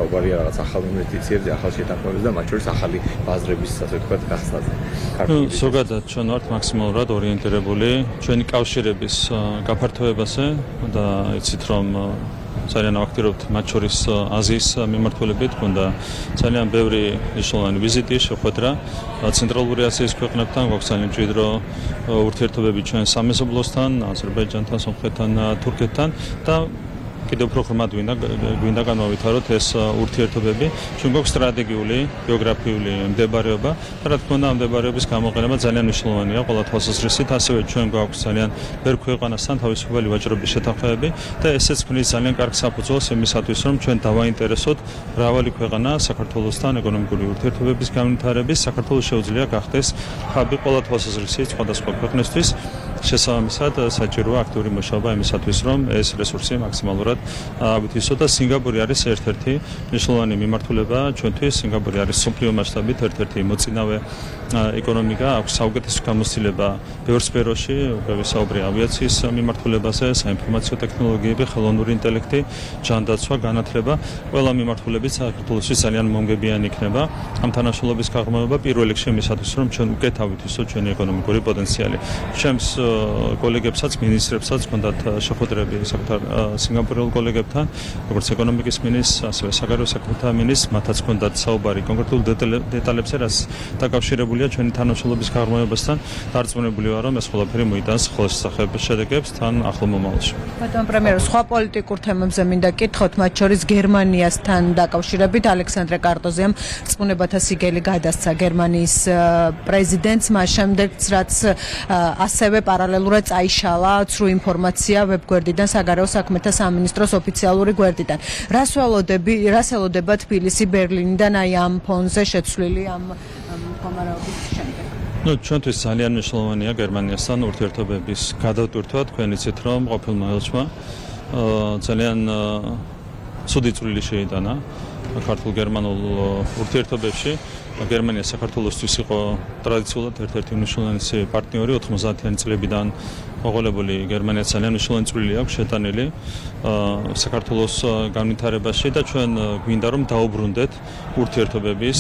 საუბარია რაღაც ახალ ინვესტიციებზე, ახალ შეთანხმებებზე და მათ შორის ახალი ბაზრების, ასე ვთქვათ, გახსნაზე. ზოგადად ჩვენ ვართ მაქსიმალურად ორიენტირებული ჩვენი კავშირების გაფართოებაზე და იცით რომ ძალიან ავაქტირებთ მათ შორის აზიის მიმართულებით, გონდა ძალიან ბევრი მნიშვნელოვანი ვიზიტი შეხვედრა ცენტრალური აზიის ქვეყნებთან, გვაქვს ძალიან მჭიდრო ურთიერთობები ჩვენ სამეზობლოსთან, აზერბაიჯანთან, სომხეთთან, თურქეთთან და კიდევ უფრო ღრმად გვინდა განვავითაროთ ეს ურთიერთობები. ჩვენ გვაქვს სტრატეგიული, გეოგრაფიული მდებარეობა და რა თქმა უნდა ამ მდებარეობის გამოყენება ძალიან მნიშვნელოვანია ყველა თვალსაზრისით. ასევე ჩვენ გვაქვს ძალიან ბევრ ქვეყანასთან თავისუფალი ვაჭრობის შეთანხმებები და ესეც ქმნის ძალიან კარგ საფუძველს იმისათვის, რომ ჩვენ დავაინტერესოთ მრავალი ქვეყანა საქართველოსთან ეკონომიკური ურთიერთობების განვითარების. საქართველოს შეუძლია გახდეს ჰაბი ყველა თვალსაზრისით სხვადასხვა ქვეყნისთვის. შესაბამისად საჭიროა აქტიური მუშაობა იმისათვის, რომ ეს რესურსი მაქსიმალურად ავითვისოთ და სინგაპური არის ერთ-ერთი მნიშვნელოვანი მიმართულება ჩვენთვის. სინგაპური არის მსოფლიო მასშტაბით ერთ-ერთი მოწინავე ეკონომიკა, აქვს საუკეთესო გამოცდილება ბევრ სფეროში, ვისაუბრე ავიაციის მიმართულებაზე, საინფორმაციო ტექნოლოგიები, ხელოვნური ინტელექტი, ჯანდაცვა, განათლება, ყველა მიმართულებით საქართველოსთვის ძალიან მომგებიანი იქნება ამ თანამშრომლობის გაღრმავება პირველ რიგში იმისათვის, რომ ჩვენ უკეთ ავითვისოთ ჩვენი ეკონომიკური პოტენციალი. ჩემს კოლეგებსაც, მინისტრებსაც ჰქონდათ შეხვედრები სინგაპურელ კოლეგებთან, როგორც ეკონომიკის მინისტრს, ასევე საგარეო საქმეთა მინისტრს, მათაც ჰქონდათ საუბარი კონკრეტულ დეტალებზე, რაც დაკავშირებულია ჩვენი თანამშრომლობის გაღრმავებასთან. დარწმუნებული ვარ, რომ ეს ყველაფერი მოიტანს ხელშესახებ შედეგებს თან ახლო მომავალში. ბატონო პრემიერო, სხვა პოლიტიკურ თემებზე მინდა კითხოთ, მათ შორის გერმანიასთან დაკავშირებით ალექსანდრე კარტოზიამ რწმუნებათა სიგელი გადასცა გერმანიის პრეზიდენტს, მას შემდეგაც რაც ასევე პარალელურად წაიშალა ცრუ ინფორმაცია ვებგვერდიდან, საგარეო საქმეთა სამინისტროს ოფიციალური გვერდიდან. რას ველოდება თბილისი ბერლინიდან აი ამ ფონზე შეცვლილი ამ მდგომარეობის შემდეგ? ჩვენთვის ძალიან მნიშვნელოვანია გერმანიასთან ურთიერთობების გადატვირთვა. თქვენ იცით რომ ყოფილმა ელჩმა ძალიან ცუდი წვლილი შეიტანა ქართულ-გერმანულ ურთიერთობებში. გერმანია საქართველოსთვის იყო ტრადიციულად ერთ-ერთი მნიშვნელოვანი პარტნიორი 90-იანი წლებიდან მოყოლებული. გერმანია ძალიან მნიშვნელოვანი წვლილი აქვს შეტანილი საქართველოს განვითარებაში და ჩვენ გვინდა რომ დაუბრუნდეთ ურთიერთობების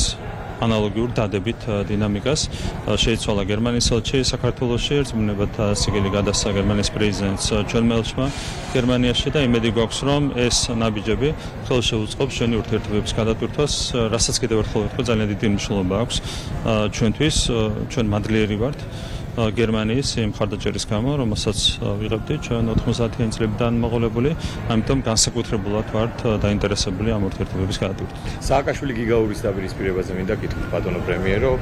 ანალოგიურ დადებით დინამიკას. შეიცვალა გერმანიის ელჩი საქართველოში, რწმუნებათა სიგელი გადასცა გერმანიის პრეზიდენტს ჩვენმა ელჩმა გერმანიაში და იმედი გვაქვს, რომ ეს ნაბიჯები ხელს შეუწყობს ჩვენი ურთიერთობების გადატვირთვას, რასაც კიდევ ერთხელ ვთქვი, ძალიან დიდი მნიშვნელობა აქვს ჩვენთვის. ჩვენ მადლიერი ვართ გერმანიის იმ მხარდაჭერის გამო, რომელსაც ვიღებდი ჩვენ 90-იანი წლებიდან მოყოლებული, ამიტომ განსაკუთრებულად ვართ დაინტერესებული ამ ურთიერთობების გადატვირთვით. სააკაშვილი გიგაურის დაპირისპირებაზე მინდა კითხოთ ბატონო პრემიერო,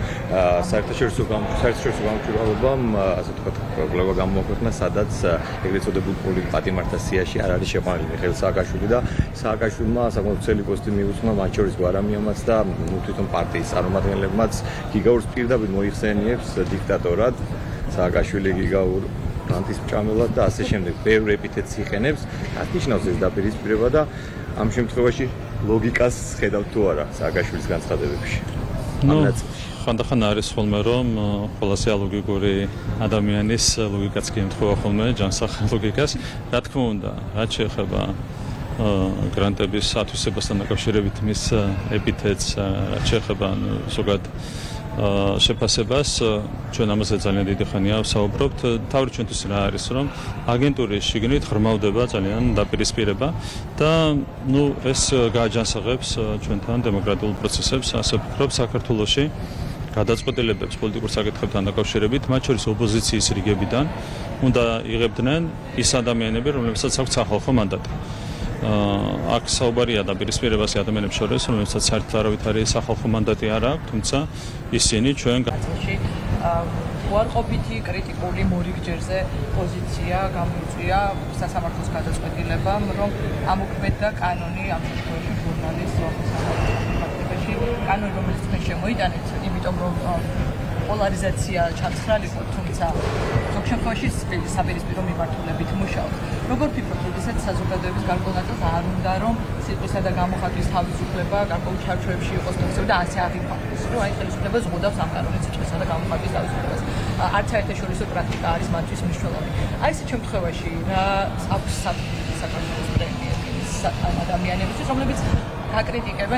საერთაშორისო გამომჭირვალობამ, ასე ვთქვათ, გლოვა გამოაქვეყნა, სადაც ეგრეთ წოდებულ პატიმართა სიაში არ არის შეყვანილი მიხეილ სააკაშვილი და სააკაშვილმა საკმაოდ ძველი პოსტი მიუძღვნა მათ შორის გვარამიამაც და თვითონ პარტიის წარმომადგენლებმაც გიგაურს პირდაპირ მოიხსენიებს დიქტატორად. სააკაშვილი გიგაურ ანტისმჭამელად და ასე შემდეგ ბევრ ეპითეტს იხენებს. რაც ნიშნავს ეს დაპირისპირება და ამ შემთხვევაში ლოგიკას ხედავთ თუ არა სააკაშვილის განცხადებებში? ხანდახან არის ხოლმე რომ ყველაზე ალოგიკური ადამიანის ლოგიკაც კი ემთხვევა ხოლმე ჯანსაღ ლოგიკას. რა თქმა უნდა, რაც შეეხება გრანტების ათვისებასთან დაკავშირებით მის ეპითეტს, რაც შეეხება ზოგადად შეფასებას, ჩვენ ამაზე ძალიან დიდი ხანია ვსაუბრობთ. თავი ჩვენთვის რა არის, რომ აგენტურის შიგნით ღრმავდება ძალიან დაპირისპირება და ეს გააჯანსაღებს ჩვენთან დემოკრატიულ პროცესებს, ასე ვფიქრობ, საქართველოში გადაწყვეტილებებს პოლიტიკურ საკითხებთან დაკავშირებით, მათ შორის ოპოზიციის რიგებიდან უნდა იღებდნენ ის ადამიანები, რომლებსაც აქვს სახალხო მანდატი. აქ საუბარია დაპირისპირებაზე ადამიანებს შორის, რომელსაც საერთოდ არავითარი სახალხო მანდატი არ აქვს, თუმცა ისინი ჩვენ უარყოფითი კრიტიკული მორიგჯერზე პოზიცია გამოიწვია სასამართლოს გადაწყვეტილებამ, რომ ამოქმედდა კანონი ამ შემთხვევაში ჟურნალისტ სახელმწიფოში კანონი, რომელიც თქვენ შემოიტანეთ, იმიტომ რომ პოლარიზაცია ჩამცხრალიყო, თუმცა ზოგ შემთხვევაში საპირისპირო მიმართულებით მუშაობს. როგორ ფიქრობთ, როდესაც საზოგადოების გარკვეულ ნაწილს არ უნდა რომ სიტყვისა და გამოხატვის თავისუფლება გარკვეულ ჩარჩოებში იყოს და ასე აღიქვამდეს, რომ აი ხელისუფლება ზღუდავს ამ კანონის სიტყვისა და გამოხატვის თავისუფლებას. არც საერთაშორისო პრაქტიკა არის მათთვის მნიშვნელოვანი. აი ეს შემთხვევაში რა აქვს საქართველოს პრემიერის ადამიანებისთვის, რომლებიც აკრიტიკებენ